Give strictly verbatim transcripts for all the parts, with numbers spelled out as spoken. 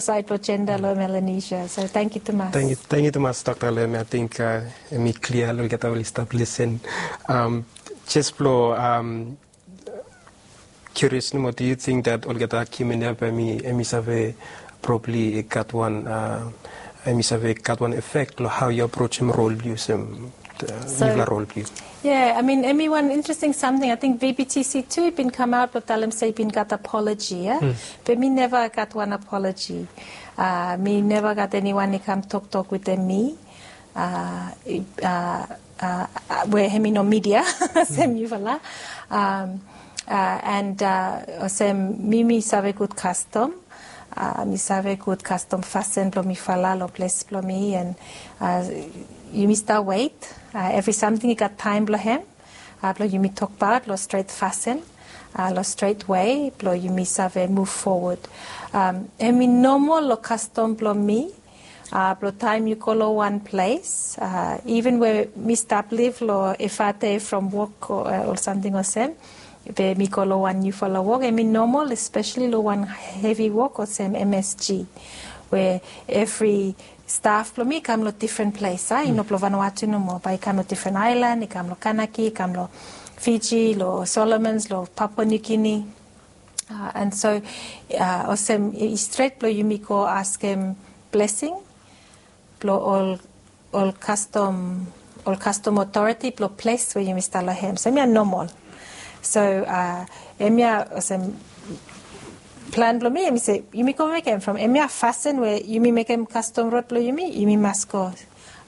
saed blong jenda long Melanesia. So tangkiu tumas. Tangkiu, tangkiu tumas, Dokta, long hemia. Ating, uh, hemi klia long olgeta we oli stap lisen. Um, jes blong, um, curious nomo, do you think that olgeta argument ia bae hemi, hemi save probably gat wan, uh, hemi save gat wan effect long hao yu aprojem rol blong yu olsem, uh, nifala rol blong yu? Yeah, I mean, hemi wan interesting samting. Ating V B T C tu i bin kamaot blong talem se i bin gat apology, yeah? Be mi neva gat wan apology. Uh, mi neva gat eniwan i kam toktok wetem mi. Uh, i, uh, uh, uh, we hemi no media, olsem yufala. Um, uh, and, uh, olsem mi, mi save gud kastom. Uh, mi save gud kastom fasin blong mifala long ples blong mi, and, uh, yumi stap wet. Uh, evri samting i gat taem blong hem. Uh, blong yumi tokbaot long stret fasin, uh, long stret wei, blong yumi save muv fowod. Um, hemi nomol long kastom blong mi, uh, blong taem yu go long wan ples, uh, iven we mi stap liv long Efate from wok o, uh, o samting olsem, be mi go long wan niufala wok, hemi nomol, espeseli long wan hevi wok olsem M S G, we evri staf blong mi i kam long difren ples, a, i no blong Vanuatu nomo, bae i kam long difren aelan, i kam long Kanaky, i kam long Fiji, long Solomons, long Papua New Guinea. Uh, and so, uh, olsem i, i stret blong yumi go askem blesing blong ol, ol kastom, ol kastom otoriti blong ples we yumi stap long hem. So hemia nomol. So, uh, hemia olsem plan blong mi, hemi se, yumi go mekem from hemia fasin we yumi mekem kastom rod blong yumi, yumi mas go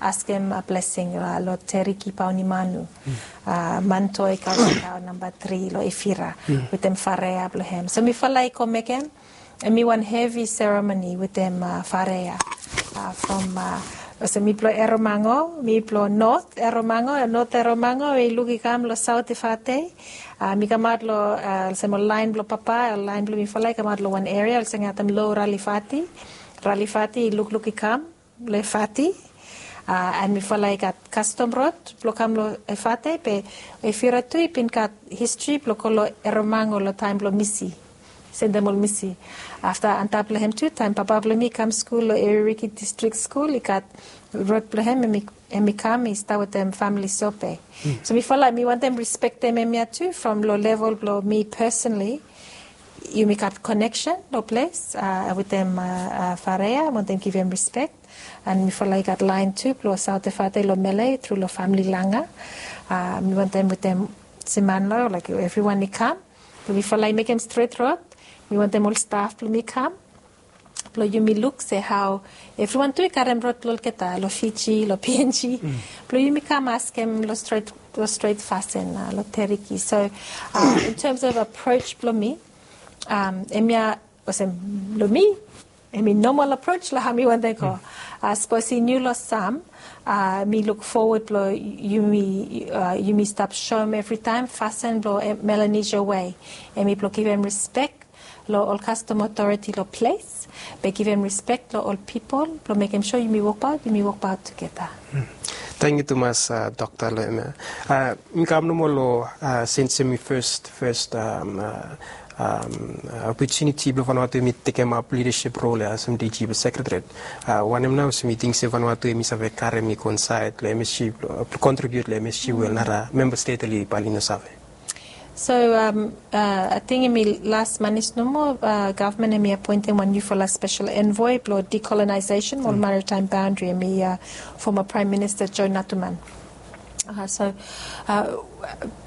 askem, uh, blesing, uh, long Teriki Paunimanu, uh, Mantoi Kausikau namba tri long Efira, wetem Farea blong hem. So mifala i go mekem, hemi wan hevi seremoni wetem, uh, Farea. Uh, from, uh, olsem mi blong Erromango, mi blong North Erromango, North Erromango, i luk i kam long South Efate. Uh, mi kamaot long, uh, olsem ol laen blong papa, ol laen blong mifala i kamaot long wan eria olsem atem long Ralifati. Ralifati i lukluk i kam long Efate. Uh, and mifala i gat kastom rod blong kam long Efate, be Efira tu i bin gat histri blong go long Erromango long taem blong misi. Sendem ol misi. Afta antap long hem tu, taem papa blong mi i kam skul long Eririki Distrik Skul, i gat rod blong hem, hemi, hemi kam, i stap wetem famili Sope. So mifala, mi wantem rispektem hemia tu, from long level blong mi personally, yumi gat koneksen long ples, uh, wetem, uh, uh, Farea, wantem givim rispek. And mifala i gat laen tu blong South Efate long Mele tru long famili Langa. Uh, mi wantem wetem Simanlo, like, evriwan i kam. Blong mifala i mekem stret rod. Mi wantem ol staf blong mi kam. Blong yumi luk se hao evriwan tu i karem rod long olgeta, long Fiji, long P N G. Blong yumi kam askem long stret, long stret fasin, uh, long Teriki. So, uh, in terms of approach blong mi, um, hemia olsem long mi, hemi nomol approach long hao mi wantem go. Uh, sapos i niu long sam, uh, mi luk fowod blong yumi, uh, yumi stap soem evritaem fasin blong, eh, Melanesia wei. Hemi blong givim rispek long ol kastom otoriti long ples, be givim rispek long ol pipol, blong mekem sua yumi wokbaot, yumi wokbaot tugeta. Tangkiu tumas, uh, Dokta, long hemia. Uh, mi kam nomo long, uh, since hemi fes, fes, um, uh, um, uh, opotuniti blong Vanuatu hemi tekemap lidasip rol ia olsem D G blong Sekretariat. Uh, wanem nao olsem yu ting se Vanuatu hemi save karem i go insaed long M S G, blong, blong kontribiut long M S G we ol nara memba stet oli bae oli no save? So, um, uh, ating hemi las manis nomo, uh, gavman hemi apoentem wan niufala spesel envoe blong decolonization mo ol maritime boundary, hemi, uh, foma Praem Minista Joe Natuman. Uh, so, uh,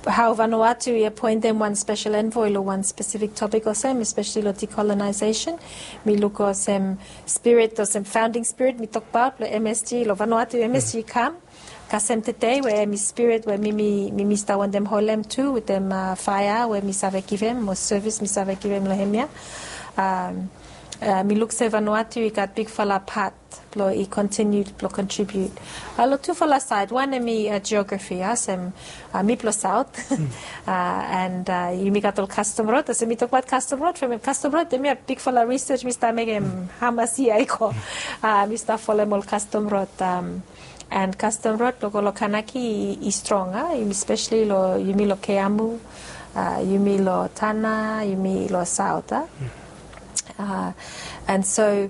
hao Vanuatu i apoentem wan spesel envoe long wan spesifik topik olsem, espeseli long decolonization. Mi luk olsem spirit, olsem founding spirit mi tokbaot long M S G, long Vanuatu M S G kam. Kasem tede we hemi spirit we mi, mi, mi, mi stap wantem holem tu wetem, uh, faea we mi save givim, mo sevis mi save givim long hemia. Um, uh, mi luk se Vanuatu i gat bigfala pat blong i kontiniu blong kontribiut. Uh, long tufala saed, wan hemi, uh, geografi, uh, olsem, uh, mi blong Saot. Uh, and, uh, yumi gat ol kastom rod, olsem mi tokbaot kastom rod, from kastom rod, hemia bigfala risej mi stap mekem hamas yia i go. Uh, mi stap folem ol kastom rod, um, and kastom rod blong go long Kanaky i, i strong, a? Yumi, espeseli long, yumi long Keamu, a, yumi long Tanna, yumi long Saot, a? Uh, and so